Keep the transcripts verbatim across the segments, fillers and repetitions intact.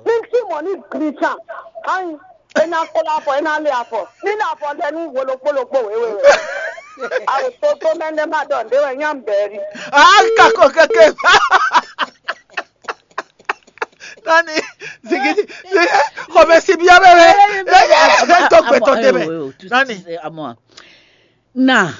Ní sí mɔ̌ ní gli can. Ayi, é ná kplá afɔ, é ná lé afɔ. Ní lé afɔ ɖɛ ní wo ɖokpó ɖokpó wěwe wě. Awo toto mɛ ɖé má ɖɔ ɖě wɛ nyá bɛɛ ɖi. Aka ko keke. Nani, zigidi, xɔmɛ si biɔ bɛ bɛ. Bɛ bɛ to gbɛtɔ tɛ bɛ. Nani. Na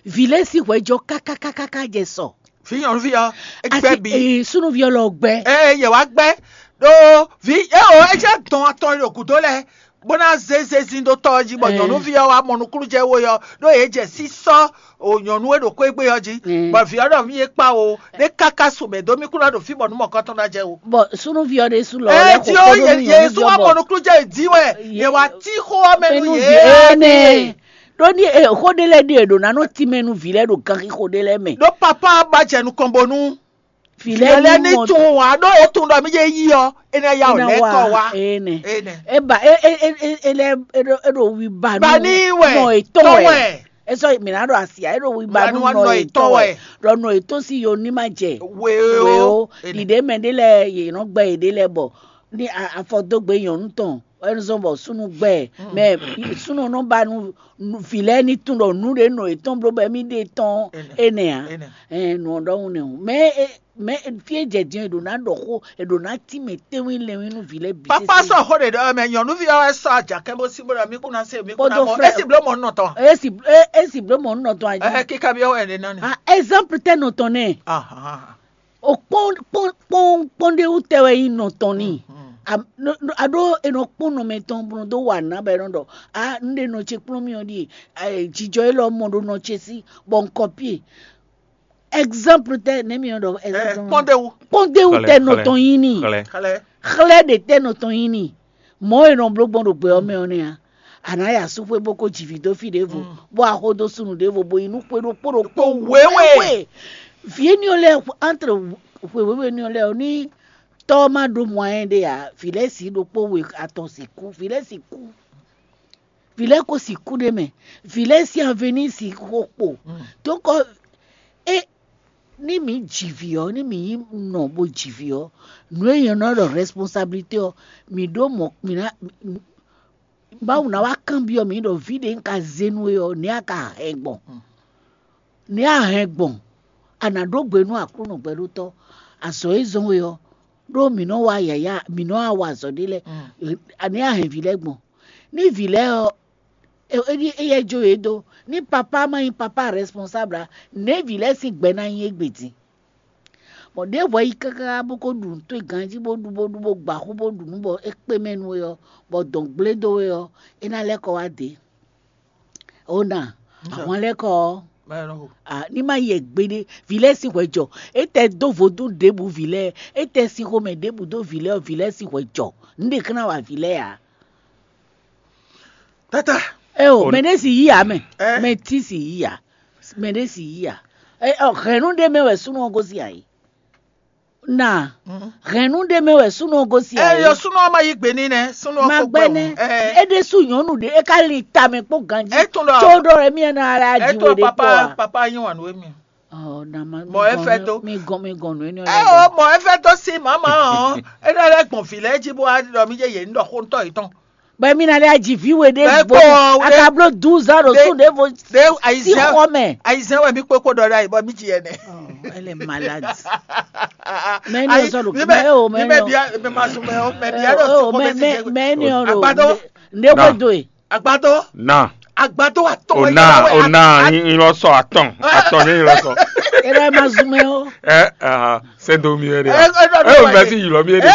vǐ lɛ́ɛ sín hwɛjɔ kákákákáká jɛ sɔ. Fi nyɔnuvi ɔ, egbɛ bi. Ee, súnúvi ɔ́ lɔ gbɛ. Ee, yɛ wá gbɛ. Ɖó vi eo é jẹ́ dɔn atɔn ɖo gǔdo lɛ bó ná zé zezin ɖó tɔ ɔ́ jí bɔ nyɔ̌nuví ɔ́ wá mɔ nukúnnú jɛ wo ɔ́ ɖó yě jɛ sísɔ́ o nyɔ̌nu e ɖo xwé gbe ɔ́ jí bɔ vǐ ɔ́ ɖɔ mí é kpa o ɖé káká su mɛ dó mí kú ná ɖo fí bɔ nú mɔ̌kɔtɔn ná jɛ o. Bɔ súnúví ɔ́ ɖésú lɔ ɛ lɛ tí ó xo kpónú yě yé sú wá mɔ nukúnnú jɛ dǐ wɛ yě wá tí xó ɔ́ mɛ nú yě ɛnɛ ɖó ní xó ɖé lɛ́ɛ ɖe è ɖǒ ná nɔ tínmɛ nú vǐ lɛ́ɛ ɖo ganxixo ɖé lɛ́ɛ mɛ. Ɖó papa ba jɛ nukɔn bónú vǐ lɛ́ɛ ní tunwun ǎ ɖó é tunwun ɖɔ mí jɛ yí ɔ é ná yá ɔ lɛ́ kɔ wá. Ene. E ba e e e e e lɛ e ɖo e ɖo wi ba nu. Ba ní wɛ. Nɔ etɔn wɛ. Esɔ mi na ɖo asia e ɖo wi ba nu nɔ etɔn wɛ. Ɖɔ nɔ etɔn si yo ní ma jɛ. Weo. Ɖiɖe mɛ ɖe lɛ yě nɔ gbɛ yě ɖe lɛ bɔ ní afɔdógbe nyɔnu tɔn ɛnuzɔn bɔ súnú gbɛ mɛ súnú nɔ ba nu vǐ lɛ́ɛ ní tún ɖɔ nǔ ɖé nɔ etɔn bló bɔ émí ɖe tɔn énɛ ǎ. Nǔ ɔ́ ɖɔhun nɛ o mɛ mɛ fí e jɛ din è ɖǒ ná ɖɔ xó è ɖǒ ná tínmɛ tɛ́nwín lɛ́nwín nú vǐ lɛ́ɛ bǐ. Papa sɔ xó ɖe ɖɔ mɛ nyɔ̌nuví ɔ́ wɛ sɔ́ ajakɛ́ bó sí bó ɖɔ mí kún ná se mí kún ná mɔ é sì bló mɔ nɔ tɔn. É sì bló mɔ nɔ tɔn ají. Ɛ kíka bí ɔwɛ ɖe nani. Ah, exemple tɛ nɔ tɔn nɛ. O kpɔn kpɔn kpɔn kpɔn ɖe wú tɛ wɛ nyí nɔ tɔn ni. A ɖó e nɔ kpɔn nɔ mɛ tɔn bó nɔ dó wa nǎ bɔ e nɔ ɖɔ a n ɖe nɔ ce kplɔ́n mì ɔ́ ɖíe jijɔ élɔ́ mɔ ɖó nɔ ce sí bɔ n kɔpie. Exemple tɛ nɛ mi ɖɔ exemple. Kpɔndewu. Kpɔndewu tɛ nɔ tɔn yin ni. Xlɛ. Xlɛ ɖe tɛ nɔ tɔn yin ni. Mɔ̌ e nɔ bló gbɔn ɖo gbɛ ɔ́ mɛ ɔ́ nɛ́ a. A nǎ ya súxwé bó ko ji vǐ dó fí ɖěvo, bó axó dó súnnu ɖěvo bó yi nú xwé ɖokpó ɖokpó wěwe. Vǐ énɛ́ ɔ́ lɛ́ɛ entre xwe wěwe énɛ́ ɔ́ lɛ́ɛ ɔ́ ní tɔ́ ɔ́ má ɖó mɔ ayɛ́ ɖé ǎ, vǐ lɛ́ɛ sǐ ɖokpó we atɔn sixú, vǐ lɛ́ɛ sixú. Vǐ lɛ́ɛ ko sixú ɖ'é mɛ. Vǐ lɛ́ɛ sín avenir sixú xo kpo. Donc é ní mǐ ji vǐ ɔ́, ní mǐ nyí nɔ bó ji vǐ ɔ́, nǔ e nyɛ nɔ ɖɔ responsabilité ɔ́, mǐ ɖó mɔ̌ mǐ ná Mawu ná wá kanbyɔ́ mǐ ɖɔ vǐ ɖě un ka zé nú we ɔ́, nɛ̌ a ka hɛn gbɔn? Nɛ̌ a hɛn gbɔn? A nǎ ɖó gbe nú Aklúnɔ gbɛɖótɔ́, azɔ̌ e zɔ́n we ɔ́, ɖó mǐ nɔ wa yǎyá, mǐ nɔ wa azɔ̌ ɖé lɛ́ɛ, nɛ̌ a hɛn vǐ lɛ́ɛ gbɔn? Ní vǐ lɛ́ɛ ɔ́, éyɛ́ jó yě dó, ní papá ma nyí papá responsable ǎ, nɛ̌ vǐ lɛ́ɛ sín gbɛ ná nyí égbé din? Bɔ ɖěvo yi káká bó ko ɖu nǔ towe ganjí bó ɖu bó ɖu bó gba xú bó ɖu nǔ bɔ é kpé mɛ nú we ɔ́, bɔ dɔn gblé dó we ɔ́, é ná lɛ́ kɔ wá dě. Ó na ahwan lɛ́ kɔ ɔ́, ní má yɛ gbeɖé. Vǐ lɛ́ɛ sín hwɛ jɔ. É tɛ dó vodún ɖěbǔ vǐ lɛ́ɛ, é tɛ sín xomɛ ɖěbǔ dó vǐ lɛ́ɛ ɔ́, vǐ lɛ́ɛ sín hwɛ jɔ. Nǔ ɖě ká ná wa vǐ lɛ́ɛ ǎ. Tata. Eo, mɛ ɖé si yí ǎ mɛ. Mɛ tí si yí ǎ. Mɛ ɖé si yí ǎ. Ɔ, hɛ̌nnu ɖé mɛ wɛ súnnu ɔ́ gosín ǎ é. Na hɛ̌nnu ɖé mɛ wɛ súnnu ɔ́ gosín ǎ é. Eyɔ súnnu ɔ́ ma yí gbe n'i nɛ́. Súnnu ɔ́ kó gbɛ wú. É ɖésú nyɔ̌nu ɖé é ka lin tamɛ kpó ganjí. Tó ɖɔ wɛ mí ná lɛ́ aji we ɖé kpó a. Papa yín wǎn nú émí. Mɔ é fẹ́ dó. Mi gɔn mi gɔn nù énɛ́. Ɛ o mɔ é fẹ́ dó sí màmá ɔ́. É ná lɛ́ gbɔn vǐ lɛ́ɛ jí bó wá ɖɔ mí jẹ́ yě ní ɖɔ xó ŋutɔ́ yětɔn. Bɛ mi na lɛ aji vǐ we ɖé bo akablo douze ans ɖo tún ɖé vo sí xɔ mɛ. Ayizɛn wɛ mi kpokpo ɖɔ ɖe ayi bɔ mi ji yɛ nɛ. Elle est malade. Mɛ ni o sɔ ɖo mɛ o mɛ ni o. Mɛ ma sun mɛ o mɛ bia ɖo sí xɔ mɛ ti jɛ. Mɛ ni o ɖo. Agbadɔ. Nde ko do ye. Agbadɔ. Na. Agbadɔ atɔ. O na o na yin lɔ sɔ atɔn atɔn yin lɔ sɔ. Ere ma zun mɛ o. Ɛ ahan. Sɛ do mi yɛ de. Ɛ o mɛ si yilɔ mi yɛ de.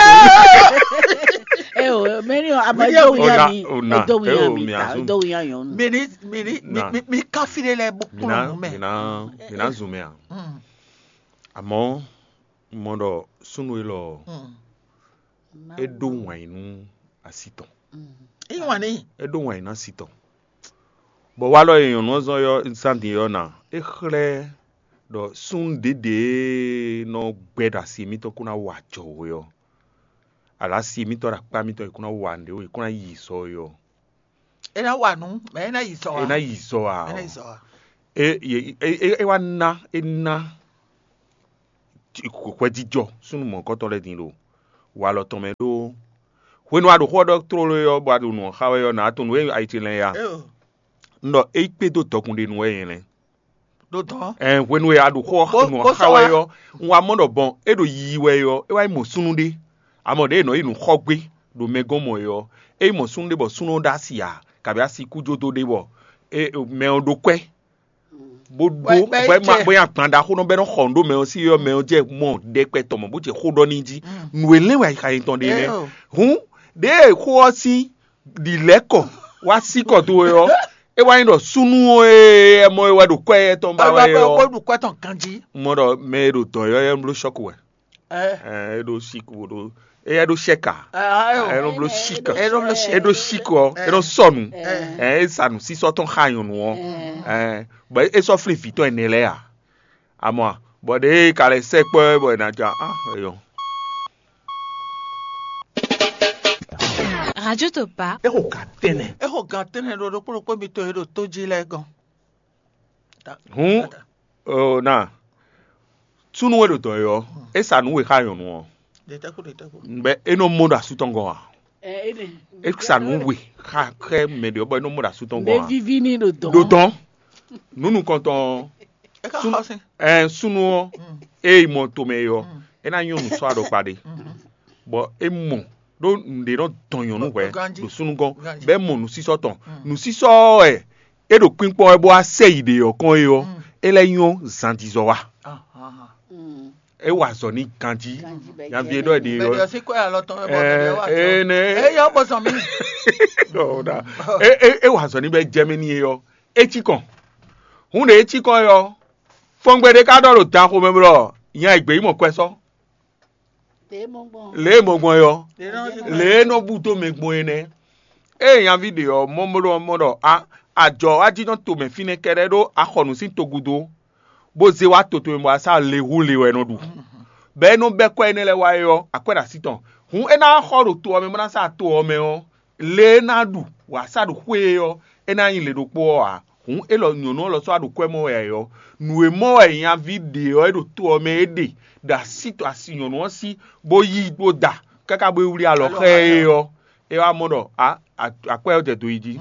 Ɛ o mɛ ni o a ma do wuya mi. O na o na ɛ o mi a zun. Do wuya yɔn. Mi ni mi ni mi mi mi kafi de lɛ bo kplɔn nu mɛ. Mi na mi na zun mɛ a. Amɔ mɔ dɔ sunu yi lɔ. E do wɛn nu asi tɔn. E wɛn ni. E do wɛn nu asi tɔn. Bɔ walɔ yi nyɔnu ɔ́ zɔn yɔ sandi yɔ na. E xlɛ ɖɔ súnnu ɖěɖě nɔ gbɛ ɖo asi mítɔn kó ná wa jɔwɛ ɔ́, alo asi mítɔn ɖo akpá mítɔn è kó ná wa nǔɖé ó, è kó ná yi sɔ é ɔ́. É ná wa nǔ, mɛ é ná yi sɔ ǎ. É ná yi sɔ ǎ. É ná yi sɔ ǎ. É é é é wá ná é ná hwɛjijɔ súnnu mɔ̌hunkɔtɔn lɛ́ɛ din lo. walɔ tɔn mɛ ɖó. Hwenu a ɖo xó ɔ́ ɖɔ tlóló é ɔ́, bɔ a ɖo nǔ ɔ́ xa wɛ ɔ́, nǎ tunwun nǔ e ayi ce lɛ́n ya. Un ɖɔ é yi kpé dó dɔkun ɖé nu wɛ nyɛ lɛ́n. Ɖó dɔn. Ɛn hwenu e a ɖo xó ɔ́ nǔ ɔ́ xa wɛ ɔ́, un wá mɔ ɖɔ bɔn é ɖo yiyi wɛ ɔ́, é wá yi mɔ súnnu ɖé. Amɔ ɖěe è nɔ yi nǔ xɔ gbé ɖo mɛ gɔ́n mɔ é ɔ́, é yi mɔ súnnu ɖé bɔ súnnu ɔ́ ɖó asi ǎ, kabǐ asi kújódó ɖé bɔ mɛ ɔ́ ɖó kwɛ́. Bó ɖó bó nyi agban ɖaxó nɔ bɔ é nɔ xɔ nǔ ɖó mɛ ɔ́ sí ɔ́, mɛ ɔ́ jɛ mɔ ɖɛkpɛ tɔn mɔ bó jɛ xó ɖɔ n'i jí. Nǔ e lɛ́n wɛ ayixa nyitɔn ɖe nɛ́. Hǔn ɖěe xó ɔ́ sín ɖi lɛ̌ kɔ wá sí kɔ towe ɔ́, é wá nyí ɖɔ súnnu e ɛ mɔ e wɛ ɖo kwɛ tɔn ba wɛ ɔ́, ɖu kwɛ tɔn ganjí. Mɔ ɖɔ mɛ e ɖo dɔ̌n ɔ́, é bló sɔ́ku wɛ. Ɛ é ɖó síku ɖó é é ɖó sɛ́ka. É nɔ bló síka. É ɖó bló sɛ́ka. É ɖó síku ɔ́, é nɔ sɔnu. Ɛ é sa nǔsísɔ tɔn xa nyɔ̌nu ɔ́. Ɛ bɔ é sɔ́ flín vǐ tɔn ɛnɛ lɛ́ɛ a? Amɔ a? Bɔ ɖěe ka lɛ́ sɛkpɔ́ ɛ bɔ è nǎ ja á eyɔn. Radio Topa. É xo gǎn tɛnɛ. É xo gǎn tɛnɛ ɖo ɖokpó ɖokpó mitɔn e ɖo tó jí lɛ́ɛ gɔ́n. Hǔn oo na súnnu e ɖo dɔ̌n é ɔ́, é sa nǔ we xá nyɔ̌nu ɔ́. Bɛ é nɔ mɔ ɖo asú tɔn gɔ́n a? É sa nǔ we xá xɛ mɛ ɖě ɔ́ bɔ é nɔ mɔ ɖo asú tɔn gɔ́n a? Ɖo dɔn. Nǔ nukɔntɔn ɔ́, ɛ súnnu ɔ́, ée mɔ tomɛ é ɔ́, é ná nyɔ́ nǔ sɔ́ aɖɔkpa ɖé. Bɔ é mɔ ɖó nǔɖé nɔ dɔn nyɔ̌nu hwɛ̌ ɖo súnnu gɔ́n, bɔ é mɔ nǔsísɔ tɔn. Nǔsísɔ ɔ́ wɛ é ɖo kpínkpɔ́n wɛ bó wá sɛ yi ɖě ɔ́ kɔn é ɔ́, é lɛ́ nyɔ́ zandizɔ wá. É wa azɔ̌ n'i ganjí. Nyaví e ɖɔ è ɖe ɔ́, ene. Eyɔ bɔzɔn mi. É wa azɔ̌ n'i bɔ é jɛ mɛ n'i é ɔ́, é cí kɔn. Hǔn ɖě é cí kɔn é ɔ́, fɔngbe ɖé ka ɖɔ ɖo dan xomɛ blɔ nya e gbě yi mɔ kwɛ sɔ́. Lě e mɔ gbɔn é ɔ́, lě e nɔ bú dó mɛ gbɔn é nɛ́. Ée nyaví ɖě ɔ́ mɔ mɔ ɖɔ mɔ ɖɔ a ajɔ wá jínjɔ́n tomɛ fínɛ́ kɛ́ɖɛ́ ɖó axɔnu sín togúdo, bó zé wá to tomɛ bɔ asá le hú le wɛ é nɔ ɖu. Bɔ é nɔ bɛ́ kwɛ́ énɛ́ lɛ́ɛ wá é ɔ́, akwɛ́ ɖo así tɔn. Hǔn é ná xɔ ɖo to ɔ́ mɛ bó ná sá to ɔ́ mɛ ɔ́, le e é ná ɖu wǎ sá ɖo xwé é ɔ́, é ná nyí le ɖokpó ɔ́ ǎ. Hǔn élɔ́ nyɔ̌nu ɔ́ lɔ sɔ́ wá ɖo kwɛ́ mɔ wɛ ǎ é ɔ́, nǔ e mɔ wɛ nyaví ɖě ɔ́ é ɖo to ɔ́ mɛ é ɖe ɖo así tɔn asi nyɔ̌nu ɔ́ sí, bó yí bó da káká bó yi wlí alɔ xá ɛ é ɔ́, é wá mɔ ɖɔ a akwɛ́ ɔ́ jɛ do yi jí.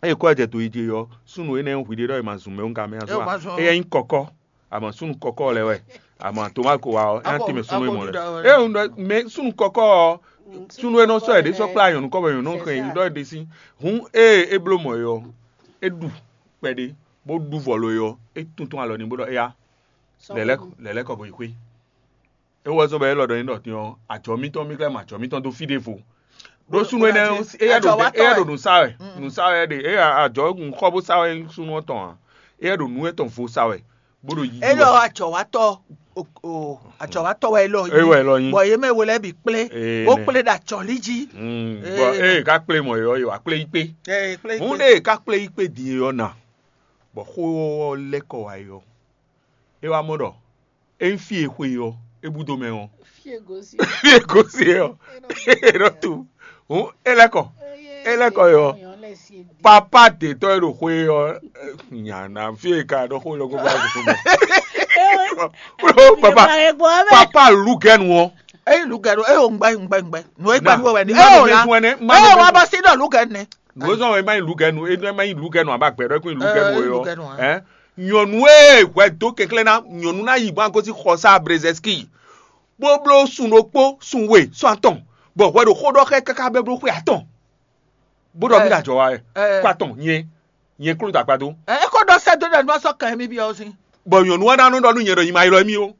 Eye kɔ́ ɛ jɛ do yi jí ɔ́, súnnu énɛ́ hwi ɖé ɖɔ è ma zun mɛ wú gamɛ azɔn a? Éyɛ́ nyí kɔkɔ, àmọ́ súnnu kɔkɔ lɛ wɛ, àmọ́ àtɔmá ko wa ɔ́, é ná tɛ́nmɛ súnnu e mɔ lɛ. É un ɖɔ mɛ súnnu kɔkɔ ɔ́, súnnu e nɔ sɔ́ ɛ ɖě sɔ́ kplá nyɔ̌nu kɔ́ bɔ nyɔ̌nu kɛn ɖɔ é ɖe sí. Hǔn ée é bló mɔ̌ é ɔ́, é ɖu kpɛɖé, bó ɖu vɔ̌ lo é ɔ́, é tuntun alɔ n'i bó ɖɔ éyá, lɛ̌lɛ́ kɔ bɔ yi xwé. É wɛ zɔ́n bɔ élɔ́ ɖɔ nyí ɖɔ din ɔ́, ajɔ mítɔn mí ka mɔ ajɔ mítɔn dó fí ɖěvo. Ɖó súnnu énɛ́ éyɛ́ ɖo éyɛ́ ɖo nǔ sa wɛ, nǔ sa wɛ ɖe éyɛ́ ajɔ nǔ xɔ bó sa wɛ súnnu ɔ́ tɔn ǎ. Éyɛ́ ɖo nǔ etɔn vo sa wɛ, bó ɖo yiyi wɛ. Élɔ́ ajɔ̌wátɔ́ o ajɔ̌wátɔ́ wɛ élɔ́ É wɛ élɔ́ nyí. Bɔ yě mɛ wo lɛ́ɛ bǐ kplé, Ee, bó nɛ. Kplé ɖo ajɔ̌lí jí. Mm, Ee, bɔ nɛ. Ée ká kplé mɔ̌ é ɔ́, yě wá kplé yí kpé. Ee, kplé yí Mú kpé. Ɖe ká kplé yí kpé din é ɔ́ na, bɔ xó ɔ́ lɛ́ kɔ wá é ɔ́, é wá mɔ ɖɔ é nyí fí e xwe ɔ́, é búdó mɛ ɔ́. Fí e gosí. Fí e gosí ɔ́, é nɔ tu. Hǔn é lɛ́ kɔ. É lɛ́ kɔ yɔ. Papa dětɔ́ e ɖo xwe ɔ́, nyana fí e ka ɖɔ xó lɔ kó bá zokó mɛ. Papa papa lugɛnu ɔ́. Eyi lugɛnu, eyi o ŋgbɛ ŋgbɛ ŋgbɛ. Nù e gba nù wɛ ni. Eyi o la. Eyi o wa ba si ɖɔ lugɛnu nɛ. Nù e zɔn wɛ ma yi lugɛnu, e ma yi lugɛnu aba gbɛ ɖɔ e kún yi lugɛnu o yɔ. Ɛ nyɔnu e hwɛ dó kɛnklɛ́n ná nyɔnu ná yi bɔ gosí xɔsa Brezɛski, bó bló sun ɖokpó, sun we, sun atɔn, bɔ hwɛ ɖo xó ɖɔ xɛ káká bɛ bló xwe atɔn, bó ɖɔ mí ɖo ajɔ wa wɛ, kó atɔn nyɛ nyɛ kló dó akpa dó. Ɛ é kó ɖɔ sɛ dó ɖɔ nú asɔ kan mi bi ɔ sin. Bɔ nyɔnu wa ná nɔ ɖɔ nú nyɛ ɖɔ nyi ma ylɔ mí o.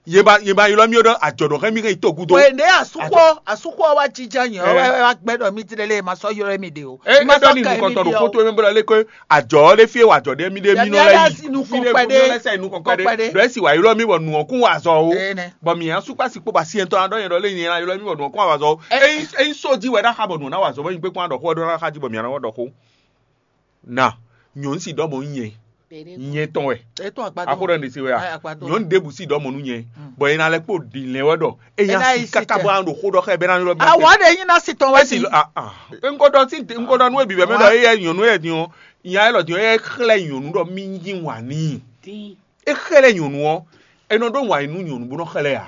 Yě ba yě ba ylɔ́ mì ɖɔ ajɔ̌ɖɔxɛ́mí hɛn yi togun dó. Wěɖé asúxɔ asúxɔ wá jínjɔ́n nyɛ wɛ wá gbɛ́ ɖɔ mí tlɛ lé ma sɔ́ ylɔ́ mì ɖe o. É é ɖɔ ní nukɔntɔn ɖo xótó mɛ bó lɔ lé kó ajɔ̌ ɔ́ ɖé fí e wa ajɔ̌ ɖé mí ɖé mí nɔ lɛ́ yi fí ɖé mí nɔ lɛ́ sɛ nukɔn kpɛɖé ɖɔ é sì wá ylɔ́ mí bɔ nǔ ɔ́ kún wa azɔ o. Bɔ mǐ asúkpá sí kpó ba sí ɛntɔ́ ná ɖɔ nyɛ ɖɔ lé nyɛ ná ylɔ́ mí bɔ nǔ ɔ́ kún wa azɔ o. Ényí só jí wɛ ná xa bɔ nǔ ɔ́ ná wa azɔ bɔ nyí kpé kún ná ɖɔ xó ɔ́ ɖó ná xa jí bɔ mǐ ná wá ɖɔ xó. Na nyɔ̌nu si ɖɔ mɔ nyɛ nyɛ tɔn wɛ. Axó ɖɔ ɖe se wɛ a? Nyɔ̌nu ɖěbǔ si ɖɔ mɔ nú nyɛ, bɔ é ná lɛ́ kpo ɖi lɛ́n wɛ ɖɔ é nya si káká bɔ ná ɖo xó ɖɔ xá ɛ bɛ ná ylɔ́ mí. Awɔ ɖe nyi ná si tɔn wɛ si. Ŋkɔ ɖɔ tí ŋkɔ ɖɔ nú ebi bɛ mɛ ɖɔ éyɛ nyɔ̌nu yɛ din ɔ́, nya élɔ́ din ɔ́ é xlɛ́ nyɔ̌nu ɖɔ mí yí wǎn n'i. É xlɛ́ nyɔ̌nu ɔ́, é nɔ ɖó wǎn nú nyɔ̌nu bó nɔ xlɛ́ ǎ.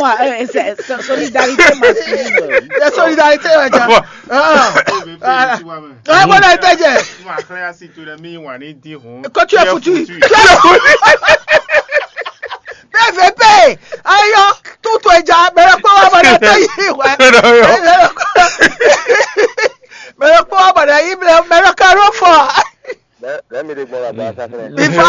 moi, euh, c'est- c'est solidarité masculine. Ɛ solidarité wɛ ja. Bon. Ah. Ebe pe ti wa mɛ. Ɛ bɔ na tɛ jɛ. Kuma xlɛ asi to ɖe mi wa ni di hun. Quand tu es foutu. Tu es foutu. P V P. Ayo, tout toi ja, mais le quoi va la taille. Ouais. Mais le quoi va la il me le carreau fort. Lẹ́mìí lè gbọ́n bàbá sáfẹ́. Ifá